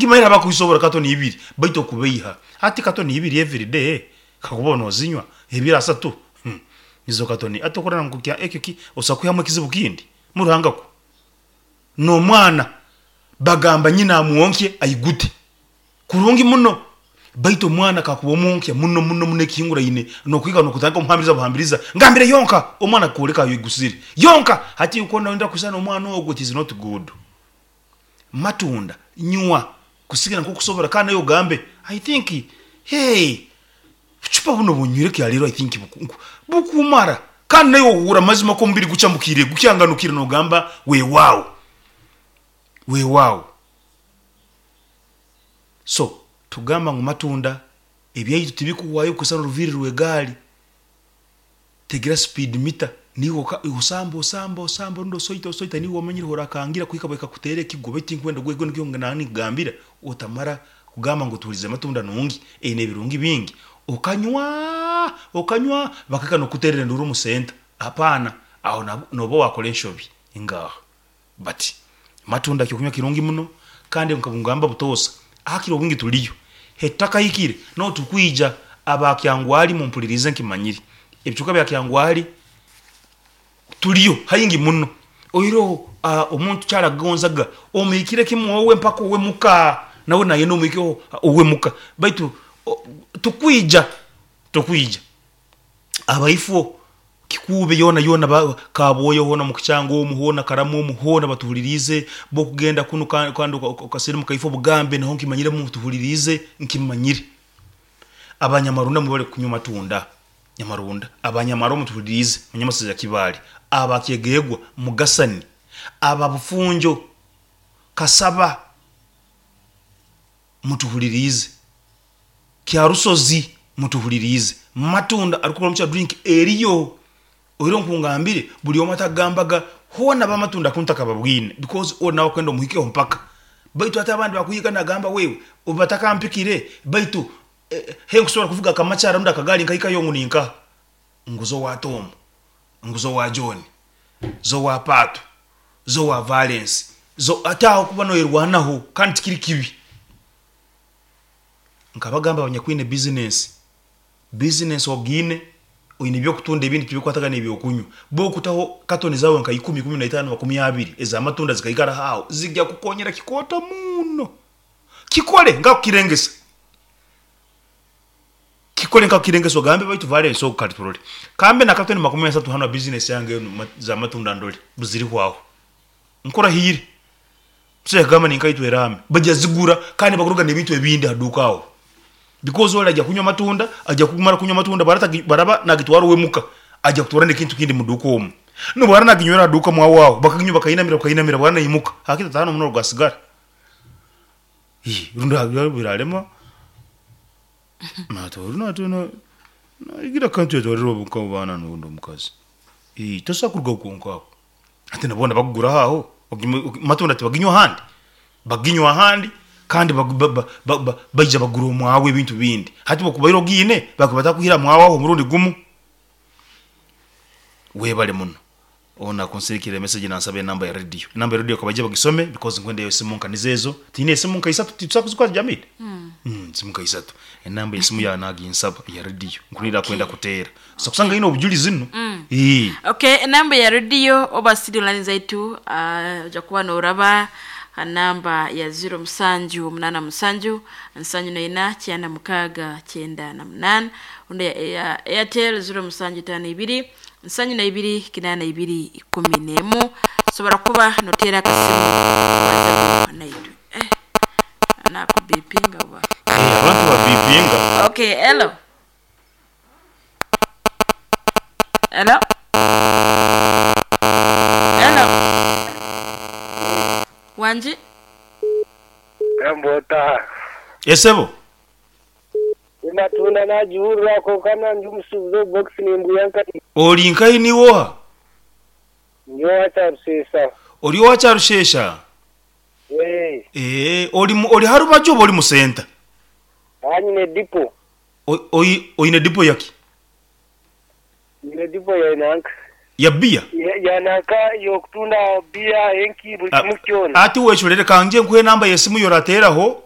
Nkimanyire abakubisobora katoni ibiri baitu okubeiha hati katoni ibiri everyday kakuba nozinywa ebiro asatu hum nizo katoni hati okurora ngu ekyo ki osobola kwihamu ekizibu kindi muruhanga kwo nomwana bagamba nyina amwonkye aigute kurungi muno baitu omwana kakuba omwonkya muno muno muno ekihinguraine nokuhika nokutandika omuhambiriza buhambiriza ngambire yonka omwana akukwoleka aigusire yonka hati iwe noyenda kwisana nomwana ogwo it is not good. Matunda nywa kusigira nkokusobora kandi naiwe ogambe I think hey bucupa buno obunywire kyaleero I think bukumara kandi naiwe ohuura amazima ku omubiri gucamukire gukyanganukire nogamba weewaawo weewaawo. So tugamba ngu matunda ebyaitu tibikuhwayo kusana oruviiri rw'egaari. Tegira speed meter niiwe oka osamba osamba osamba rundi osoita osoita niiwe omanyire ahorakangira kuhika bwekakuteera ekigwo baitu tinkwenda ogwe ekyo nikyo naba ninkugambira otamara kugamba ngu otuhurize amatunda nungi eine ebirungi bingi okanywa okanywa bakahika nokukuterera enduuru omu center hapana aho noba wakora enshobi ngaha but amatunda kyokunywa kirungi muno kandi nkangamba butoosa hakiri obwingi turiyo Hetitakahikire nobu turikwija aba Kyangwali mumpuririze nkimanyire ebicweka bya Kyangwali turiyo haingi muno oihireho omuntu kyarakugonzaga omuhikire kimwe owe mpaka owe muka nawe nayenda omuhikeho owe muka baitu tukwija tukwija. Abaifo Kikuube yoona yoona ba Kabwoya hoona omu Kikyanga omu hoona Karamu omu hoona batuhuliriize, bw'okugenda kunu kandi okasirimuka kaifo Bugambe naho nkimanyire mutuhuliriize nkimanyire. Abanyamarunda mwebale kunywa amatunda Nyamarunda, Abanyamaro mutuhuliriize Munyamasezi Kibaale, aba Kyegegwa, Mugasani, aba Bufunjo, Kasaba mutuhuliriize. Kyarusozi mutuhuliriize. Matunda arikukora omu kya drink eriyo. Oire nkungambire buri omwe atakugambaga hoona abamatunda ku ntakababwine because ori nawe akwenda omuhikeho mpaka. Baitu hati abandi bakuhiga nagamba wewe batakampikire baitu henkusobora kuvuga akamakyara rundi akagaari nkahikayo ngu ninkaha? Ngu za owa Tom, ngu za owa John, za owa Paatu, za owa Valens, za hati aho kuba noyerwanaho kandi tikiri kibi. Nkabagamba abanyakwine bizinesi, bizinesi ogiine oine eby'okutunda ebindi tibikwatagana n'ebyokunywa. Bw'okutaho katoni zaawe nka ikumi, ikumi na itaano, makumi abiri ez'amatunda zikaikaraho aho, zigya kukonyera kikooto muno. Kikole nkakukirengesa. Kikole nkakukirengesa ogambe baitu Valens ogu kati turole. Kambe na katoni 30 hanu ha bizinesi yange enu z'amatunda ndole buzirihwaho. Nkurahiire. Omusaija akagamba ninkaitwe eraame. Baija zigura kandi bakuruga nebintu ebindi ha duuka aho. Because ori aija kunywa amatunda, aija kumara kunywa amatunda baraba nagitwara owe muka, aija kutwara nekintu kindi mu duuka omu. Nobwara naginywera ha duuka mwawe aho, bakaginywa bakainamira bakainamira bwara naimuka, hakiri tataano muno gwa sigara. Hii rundi birarema, nagira akantu yatwarire abaana norundi omukazi. Tosobola kurugaho kwonka aho. Hati na boona bakuguraho aho, amatunda tibaginywa ahandi? Baginywa ahandi kandi baija bagura omwawe ebintu bindi. Hati obu okubaire ogiine, bakuba batakwihire aha mwawe aho omurundi gumu. Webale muno. Onu akunsindikire emessage nansaba enamba ya radio. Enamba ya radio kabaije bagisome because nkwenda esimu nka nizo ezo. Twine esimu nka isatu titusobola kuzikwata Jamil? Esimu nka isatu. Enamba y'esimu yaawe naginsaba eya radio nkunira akwenda kuteera. Osobola kusanga aine obujulizi nu. Eeh. Okay, enamba ya radio oba studio line zaitu oja kuba noraba ha namba ya ziro musanju munana musanju nsanju naina kyenda mukaaga kyenda na munana rundi eya Airtel ziro musanju itano ibiri nsanju na ibiri kinana ibiri ikumi nemu osobora kuba noteera akasimu obazeho naitwe. Eh, nakubipinga oba? Eh, abantu babipinga. Okay, hello. Hello. Hello. Wangi? Gamba ota? Esebo. Ematunda nagihurira kwonka nangye omusuubuzi obu box nimbwiha nkahi? Ori nkahi niiwe oha? Ndi owa Kyarushesha. Ori owa Kyarushesha? Eeh. Eeh, ori ori harubaju oba ori mu center? Aha nyine dipo. Oine dipo yaki? Nyine dipo ya nanka. Ya biya? Ya nanka y'okutunda biya, enki, buri kimwe kyona. Hati wecurere ka ngye nkuhe enamba y'esimu y'orateeraho.